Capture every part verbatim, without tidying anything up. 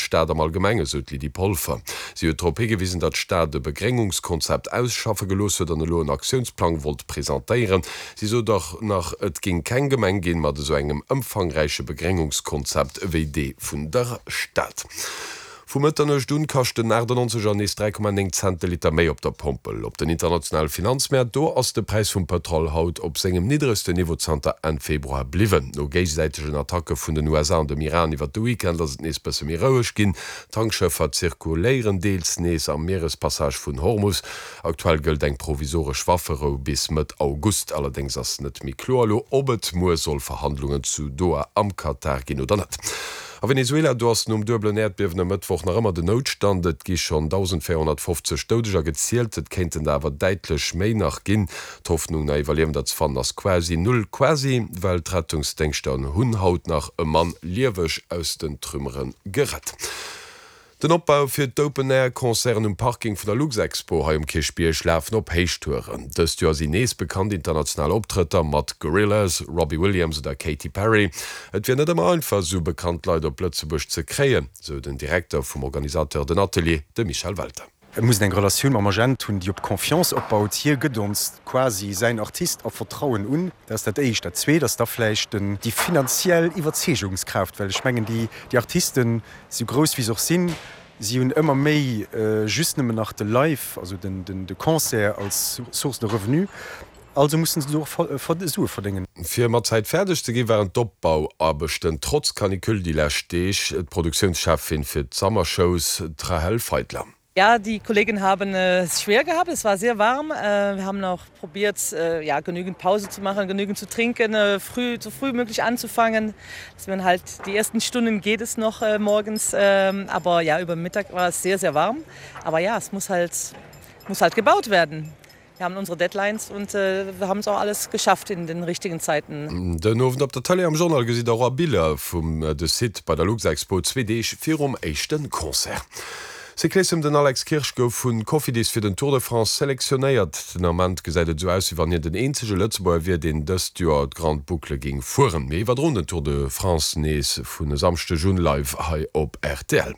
Stad am Allgemengen, sou d'Lydie Polfer. Si huet drop higewisen, datt d'Stad e Begréngungskonzept ausschaffe gelooss huet an elo en Aktiounsplang wollt presentéieren. Si sot och nach, et géing keng Gemeng ginn mat esou engem ëmfangräiche Begréngungskonzept ewéi dee vun der Stad. Vu Mëtternuecht un kascht den achtannonzeger nees dräi Komma néng Cent de Liter méi op der Pompel. Op den internationale Finanzmäert, do ass de Präis vum Pëtrol haut op sengem niddregsten Niveau zanter Enn Februar bliwwen. No géigesäitegen Attacke vun den U S A an dem Iran iwwert de Weekend ass et nees bësse méi roueg ginn. Tankschëffer zirkuléieren deels nees am Mierespassage vun Hormus. Aktuell gëllt eng provisoresch Wafferou bis Mëtt August. Allerdéngs ass net méi kloer elo, ob et muer soll Verhandlungen zu Doha am Katar ginn oder net. A Venezuela, do ass nom duebelen Äerdbiewen e Mëttwoch nach ëmmer den Noutstand. Et gi schonn dausendvéierhonnertfofzeg Doudeger gezielt, et kéinten der awer däitlech méi nach ginn. D'Hoffnung, nach Iwwerliewender ze fannen, ass quasi null. Quasi, well d'Rettungsdéngschter hunn haut nach e Mann lieweg aus den Trümmere gerett. Den Opbau fir d'Open-Air-Concerten um Parking vun der Luxexpo hei um Kierchbierg lafen op Héichtouren. Dëst Joer sinn nees bekannt international Optrëtter mat Gorillaz, Robbie Williams oder Katy Perry. Et wier net ëmmer einfach, esou bekannt Leit op Lëtzebuerg ze kréien, sou den Direkter vum Organisateur Den Atelier, de Michel Welter. Et muss een eng Relatioun mam Agent hunn, déi op Confiance opbaut. Hie gëtt ons quasi säin Artist a Vertrauen un. Dat ass dat Éischt. Dat Zweet ass da vläicht den, déi finanziell Iwwerzeegungskraaft, well ech mengen, déi, déi Artisten, sou grouss wéi se och sinn, si hunn ëmmer méi just nëmmen nach de Live, also den, den, de Concert als Source de revenu. Also mussen se och Sue verdéngen. Fir mat Zäit fäerdeg ze ginn, waren d'Opbauaarbechten trotz Canicule déi lescht Deeg. D'Produktiounscheffin fir d'Summer-Shows, d'Rahel Feitler. Ja, die Kollegen haben es schwer gehabt. Es war sehr warm. Wir haben auch probiert, ja, genügend Pause zu machen, genügend zu trinken, früh, so früh möglich anzufangen. Dass man halt die ersten Stunden geht es noch morgens, aber ja, über Mittag war es sehr, sehr warm. Aber ja, es muss halt, muss halt gebaut werden. Wir haben unsere Deadlines und äh, wir haben es auch alles geschafft in den richtigen Zeiten. Den Owend op der Tëlee am Journal gesitt der och Biller vum de Site bei der Luxexpo zwee Deeg virum éischte Concert. Cyclissem, Den Alex Kirsch gouf vu Cofidis fir den Tour de France selektionéiert. Den Ament gesäit et esou aus, wéi wann hien den eenzege Lëtzebuerger wier, deen dëst Joer d'Grande Boucle géing fueren. Mir iwwerdroen den Tour de France nees vun e Samschdeg un live hei op R T L.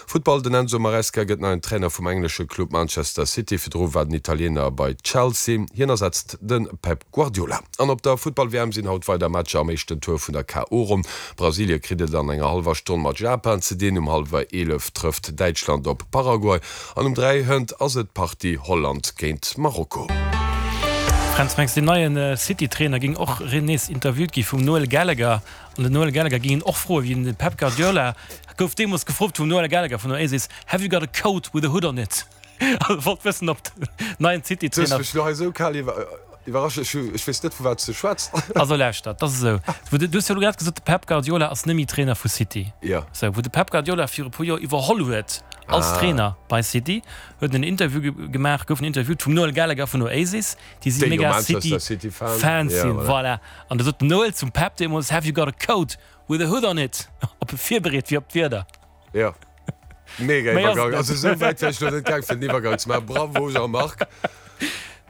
Futtball, Den Enzo Maresca gëtt neien Trainer vum englesche Club Manchester City. Virdru war den Italiener bei Chelsea. Hien ersetzt de Pep Guardiola. An op der Futtball-W M sinn haut weider Matcher am éischten Tour vun der K O. Ronn. Brasilie kritt et an enger hallwer Stonn mat Japan ze dinn. Um hallwer eelef trëfft Däitschland op Paraguay an um dräi hënt ass et d'Partie Holland géint Marokko. Fränz, mengs de den neien City-Trainer géing och nees interviewt gi vum Noel Gallagher an den Noel Gallagher géing en och froen, wéi den Pep Guardiola gouf deemools gefrot vum Noel Gallagher vun Oasis, Have you got a coat with a hood on it? Also wollt wëssen ob den neien City-Trainer. Du hues mech elo hei esou kal iwwerrascht, ech ech weess net vu wat s de schwätz. Also lauschter, dat ass esou, wou de, du hues jo elo grad gesot, de Pep Guardiola ass net méi Trainer vu City. Jo. Sou, wou de Pep Guardiola viru e puer Joer iwwerholl huet als Ah. Trainer bei City, huet en en Interview ge gemaach, gouf en interviewt vum Noel Gallagher vun Oasis, déi si Déi jo mega Manchester City City Fan. Fans Ja, sinn, voilà. voilà. An da sot den Noel zum Pep deemools, Have you got a coat with a hood on it? Ob e virbereet wier op d'Wieder. Jo. Mega Méi ass Iwwergang. et net. Also esou wäit wär ech lo net gaang fir den Iwwergang ze maachen. Bravo Jean-Marc.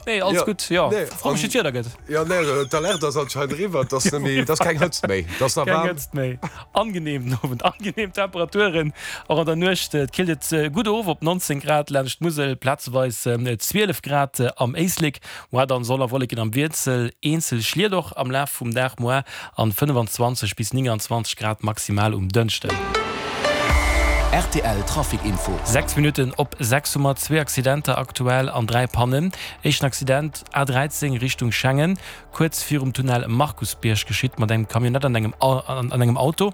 Nee, alles Ja, gutt, jo. nee, Fro mech, wéi an, d'Wieder gëtt. ja, nee, d'Alerte ass anscheinend eriwwer, et ass net méi, et ass keng Hëtzt méi, et ass nach Keng waarm. Hëtzt méi. Angenehm den Owend, angenehm Temperaturen och an der Nuecht. Et killt et gutt of op neunzéng Grad laanscht d'Musel, plazeweis zwielef Grad am Éislek. Moar dann Sonn a Wolleken am Wiessel, eenzel Schliet och am Laf vum Dag moar an fënnefenzwanzeg bis nénganzwanzeg Grad maximal um Dënschden. R T L Trafic Info. Sechs Minutten op sechs hu mer zwee Accidenter aktuell an dräi Pannen. Éischten Accident, A dräizéng Richtung Schengen, kuerz virum Tunnel Markusbierg geschitt mat engem Camionnette an engem an engem Auto.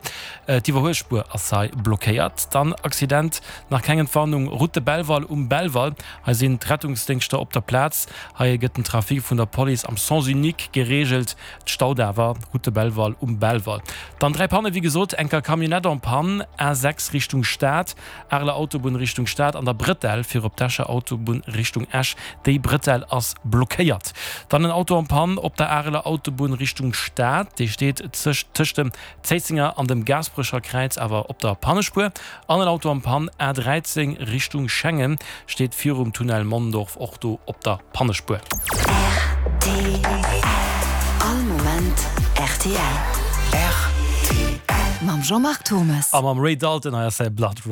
D'Iwwerhuelspuer ass hei blockéiert. Dann Accident, nach keng Entwarnung, Route de Belval um Belval. Hei sinn d'Rettungsdéngschter op der Plaz. Hei gëtt den Trafic vun der Police am Sens unique gereegelt. Et staut awer, Route de Belval um Belval. Dann dräi Panne wéi gesot, enker Camionnette en panne, A sechs Richtung Stad, Areler Autobunn Richtung Stad an der Bretelle fir op d'Escher Autobunn Richtung Esch. Déi Bretelle ass blockéiert. Dann en Auto en panne op der Areler Autobunn Richtung Stad, dee steet tëscht dem Zéissenger an dem Gaasperecher Kräiz awer op der Pannespuer. An en Auto en panne, A dräizéng Richtung Schengen, steet virum Tunnel Mondorf och do op der Pannespuer. R T L. All Moment R T L. R T L. Mam Jean-Marc Thomas. A mam Ray Dalton, hei ass säi Blood Running.